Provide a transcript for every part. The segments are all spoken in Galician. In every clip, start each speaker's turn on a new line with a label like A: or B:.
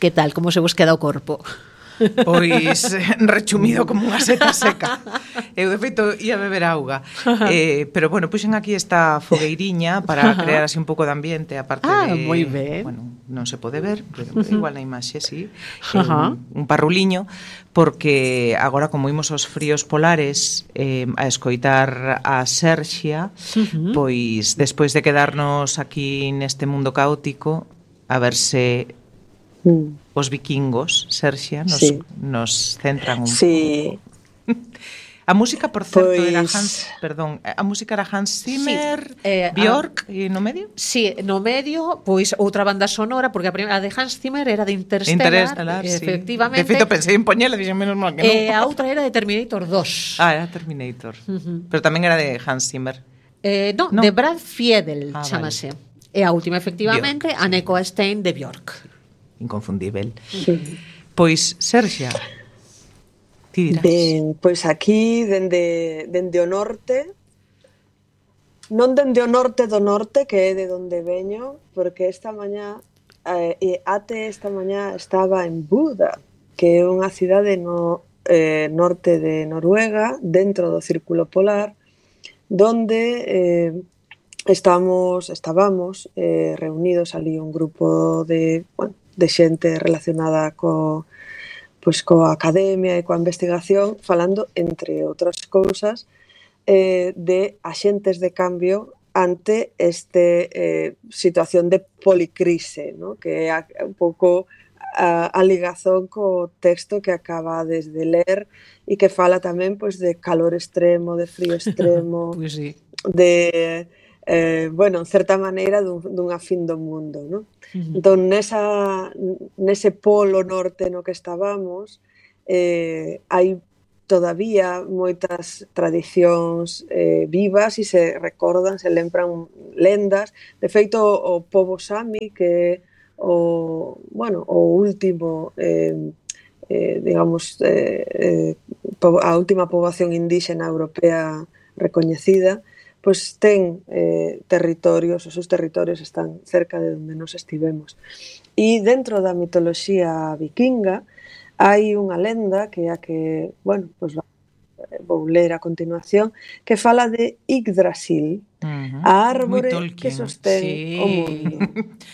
A: Que tal, como se vos queda o corpo?
B: Pois rechumido como unha seta seca. Eu, de feito, ia beber auga. Pero, bueno, puxen aquí esta fogueiriña para crear así un pouco de ambiente, aparte de...
A: moi ben.
B: Bueno, non se pode ver, pero igual na imaxe, sí. Un parruliño, porque agora, como imos aos fríos polares a escoitar a Xerxia, pois, despois de quedarnos aquí neste mundo caótico, a ver se... os vikingos, Xerxia, nos centran un pouco. A música, por certo, era a música era Hans Zimmer, Björk, e no medio?
A: Sí, no medio, pois outra banda sonora, porque a de Hans Zimmer era de Interstellar, efectivamente.
B: De feito, pensei en poñela, dixen menos mal que non.
A: A outra era de Terminator 2.
B: Era Terminator. Pero tamén era de Hans Zimmer.
A: Non, de Brad Fiedel, chamase. Vale. E a última, efectivamente, Björk, a Neko Stein de Björk.
B: Inconfundível. Pois, Xerxia, ti dirás.
C: Ben, pois aquí, dende o norte, non dende o norte do norte, que é de onde veño, porque esta mañá, até esta mañá estaba en Buda, que é unha cidade no norte de Noruega, dentro do Círculo Polar, donde estábamos reunidos ali un grupo de xente relacionada coa academia e coa investigación, falando, entre outras cousas, de axentes de cambio ante esta situación de policrise, ¿no? Que é un pouco a ligazón co texto que acabades de ler e que fala tamén pois, de calor extremo, de frío extremo,
A: pues sí.
C: de... en certa maneira dunha fin do mundo, non? Entón, nese polo norte no que estábamos, hai todavía moitas tradicións vivas e se recordan, se lembran lendas. De feito, o pobo Sami, que é o último, digamos, a última poboación indíxena europea recoñecida, pois ten territorios, os seus territorios están cerca de onde nos estivemos. E dentro da mitoloxía vikinga hai unha lenda que é a que, pois vou ler a continuación, que fala de Yggdrasil, a árbore que sostén o mundo.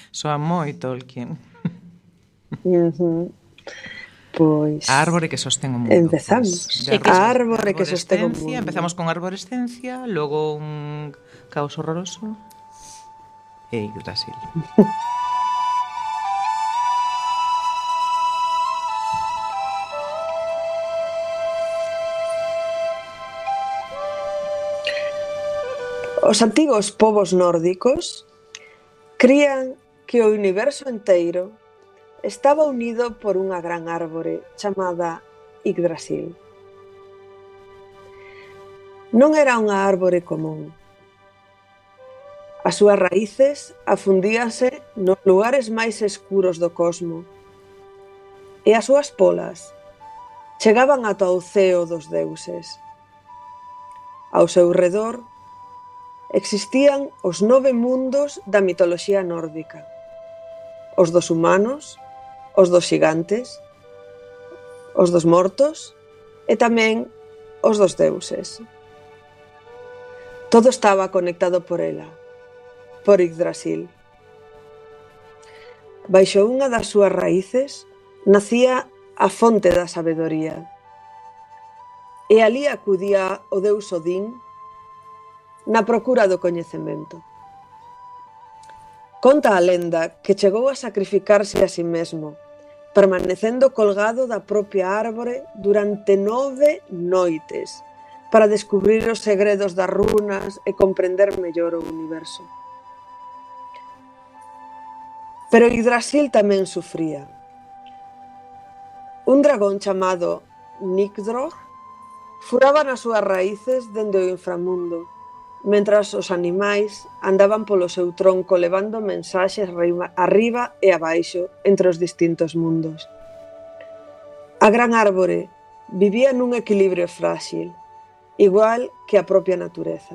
B: Soa moi Tolkien.
C: Pois
B: a árbore que sostén o mundo.
C: Empezamos. A árbore que sostén o mundo.
B: Empezamos con arborescencia, logo un caos horroroso e Yggdrasil.
C: Os antigos povos nórdicos crían que o universo enteiro estaba unido por unha gran árbore chamada Yggdrasil. Non era unha árbore común. As súas raíces afundíanse nos lugares máis escuros do cosmo e as súas polas chegaban ata o ceo dos deuses. Ao seu redor existían os 9 mundos da mitoloxía nórdica: os dos humanos, os dos xigantes, os dos mortos e tamén os dos deuses. Todo estaba conectado por ela, por Yggdrasil. Baixo unha das súas raíces nacía a fonte da sabedoría, e alí acudía o deus Odín na procura do coñecemento. Conta a lenda que chegou a sacrificarse a si mesmo, permanecendo colgado da propia árbore durante 9 noites para descubrir os segredos das runas e comprender mellor o universo. Pero Yggdrasil tamén sufría. Un dragón chamado Nikdrogg furaba nas súas raíces dende o inframundo, mentras os animais andaban polo seu tronco levando mensaxes arriba e abaixo entre os distintos mundos. A gran árbore vivía nun equilibrio frágil, igual que a propia natureza.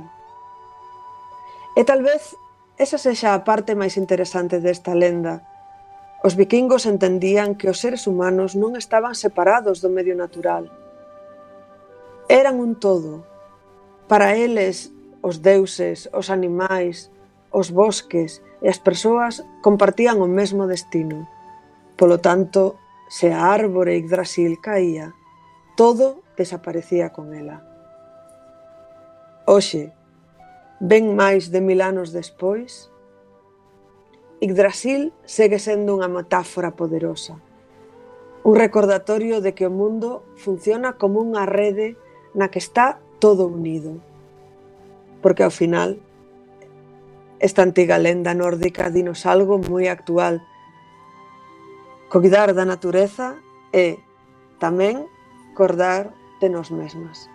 C: E tal vez esa sexa a parte máis interesante desta lenda, Os vikingos entendían que os seres humanos non estaban separados do medio natural. Eran un todo. Para eles, os deuses, os animais, os bosques e as persoas compartían o mesmo destino. Polo tanto, se a árbore Yggdrasil caía, todo desaparecía con ela. Hoxe, ben máis de 1000 anos despois, Yggdrasil segue sendo unha metáfora poderosa, un recordatorio de que o mundo funciona como unha rede na que está todo unido. Porque ao final, esta antiga lenda nórdica dinos algo moi actual. Coidar da natureza é tamén cordar de nós mesmas.